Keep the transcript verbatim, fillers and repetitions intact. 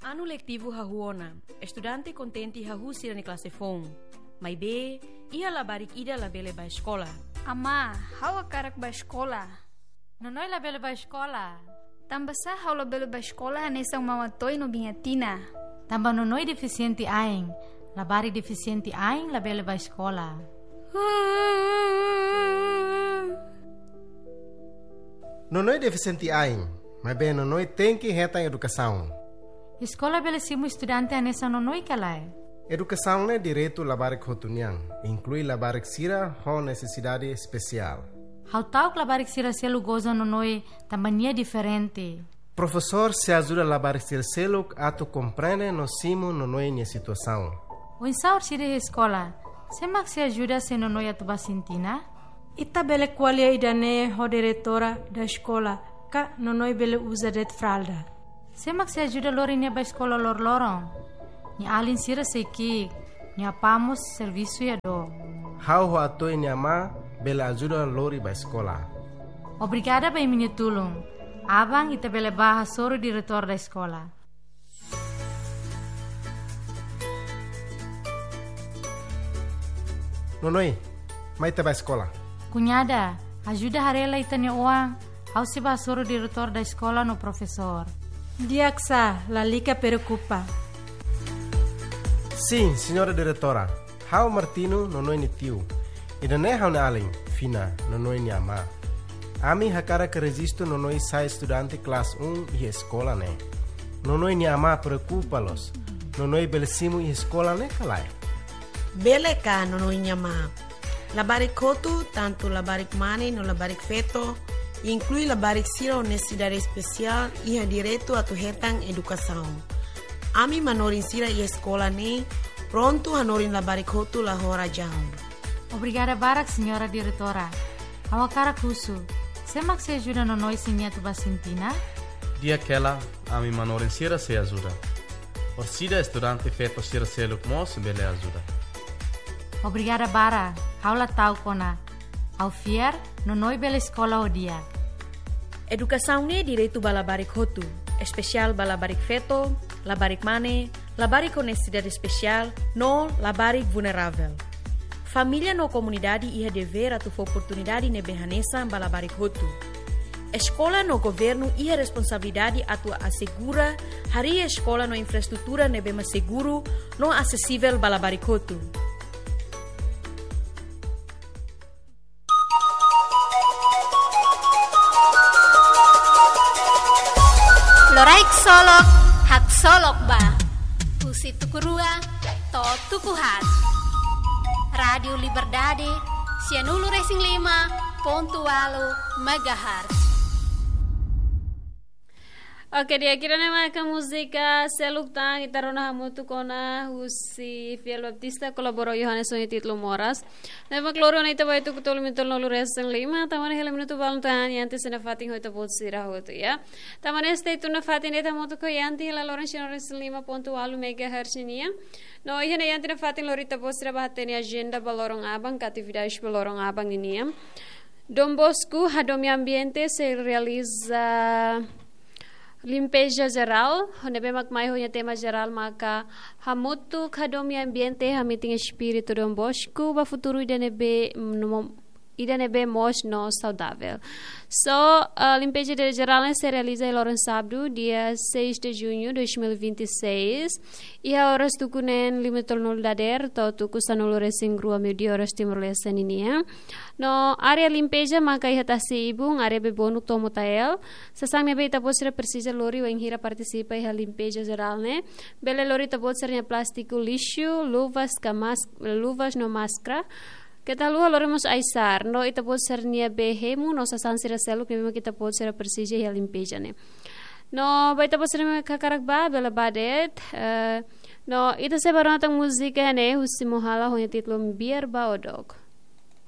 Anu letivu hahú ona, estudante kontente hahú sira-nia klase foun. Maibé, iha labarik ida labele bá eskola. Amá, ha'u hakarak bá eskola. Nonoi labele bá eskola. Tanbasá ha'u labele bá eskola hanesan Mama Toy no Biña Tina? Tanba Nonoi defisiente ain. Labarik defisiente ain labele bá eskola. Nonoi defisiente ain, maibé Nonoi tenke hetan edukasaun. Eskola bele simu estudante hanesan Nonoi ka lae? Edukasaun ne'e direitu labarik hotu nian, inklui labarik sira ho nesesidade espesiál. Ha'u ta'uk labarik sira seluk goza Nonoi tanba nia diferente. Profesór sei ajuda labarik sira seluk atu komprende no simu Nonoi nia situasaun. Oinsá orsida iha eskola, sé mak sei ajuda se Nonoi atu bá sintina? Ita bele ko'alia ida-ne'e ho diretora da eskola, ka Nonoi bele uza de'it fralda. Sé mak sei ajuda lori nia bá eskola loroloron? Nia alin sira sei ki'ik, nia apá mós servisu iha dook. Ha'u ho Atoy nia amá bele ajuda lori bá eskola. Obrigada ba imi-nia tulun. Aban ita bele bá hasoru diretór da eskola. Nonoi, mai ita bá eskola. Kuñada, ajuda haree lai ita-nia oan, ha'u sei bá hasoru diretór da eskola no profesór. Di'ak sá, lalika preokupa. Sin, señora diretora. Ha'u Martino, Nonoi nia tiu. Ida-ne'e ha'u-nia alin, Fina, Nonoi nia amá. Ami hakarak rejistu Nonoi sai estudante klase um iha eskola ne'e. Nonoi nia amá preokupa loos. Nonoi bele simu iha eskola ne'e ka lae? Bele ka, Nonoi nia amá? Labarik hotu, tantu labarik mane no labarik feto, inklui labarik sira ho nesesidade espesiál, iha direitu atu hetan edukasaun. Ami manorin sira iha eskola ne'e prontu hanorin labarik hotu la ho razaun. Obrigada barak, señora diretora. Ha'u hakarak husu, sé mak sei ajuda Nonoi se nia atu bá sintina? Di'ak hela, ami manorin sira sei ajuda. Orsida estudante feto sira seluk mós bele ajuda. Obrigada barak, ha'u la ta'uk ona. Ha'u fiar, Nonoi bele eskola ho di'ak. Edukasaun ne'e direitu ba labarik hotu, espesiál ba labarik feto, labarik mane, labarik ho nesesidade espesiál, no labarik vulneravel. Família no komunidade iha devér atu fó oportunidade ne'ebé hanesan ba labarik hotu. Eskola no governu iha responsabilidade atu asegura harii eskola no infraestrutura ne'ebé mak seguru no asesivel ba labarik hotu. Loraik solok, haksolok ba. Husi tuku rua to'o tuku haat. Rádiu Liberdade, sianulu resin lima pontu ualu megahertz. Oke, di'ak, ida-ne'e maka múzika seluk tan ita rona hamutuk ona husi Fiel Baptista kolabora Yohanes ho nia títulu Moras. Ne'ebé mak lori ona ita ba iha tuku tolu minutu nulu resin lima, tama ona hela minutu balun tan, Yanti sei nafatin ho ita-boot sira hotu, ya. Tama ona stay tune nafatin ita hamutuk ho Yanti hela loron sianulu resin lima pontu ualu megahertz nian. No iha ne'e Yanti nafatin lori ita-boot sira ba hatene ajenda ba loron aban, ka atividade ba loron aban nian. Dom Bosco hadomi ambiente sei realiza limpeza jerál, ne'ebé mak mai ho nia tema jerál maka hamutuk hadomi ambiente, hametin espíritu Dom Bosco ba futuru ida ne'ebé, mm, no mo-, ida ne'ebé moos no saudavel. So, ah, limpeza de-, jerál ne'e sei realiza iha loron sábadu, dia seis de junho de dois mil e vinte e seis, iha oras tuku neen lima tolnol dadeer to'o tuku sanulu resin rua meiudia oras Timor-Leste ninian. No área limpeza maka iha tasi ibun, área Bebonuk to'o Motael. Sasán ne'ebé ita-boot sira presiza lori wainhira partisipa iha limpeza jerál ne'e, bele lori ita-boot sira-nia plástiku lixu, luvas ka mas-, luvas no máskara. Keta haluha lori mós ai-sa'ar, no ita-boot sira-nia bee hemu, no sasán sira seluk ne'ebé mak ita-boot sira presiza iha limpeza ne'e. No ba ita-boot sira mak hakarak bá, bele bá de'it, eh, no ita sei bá rona tan múzika ne'e husi Mohala ho nia títulu Biar Ba Odok.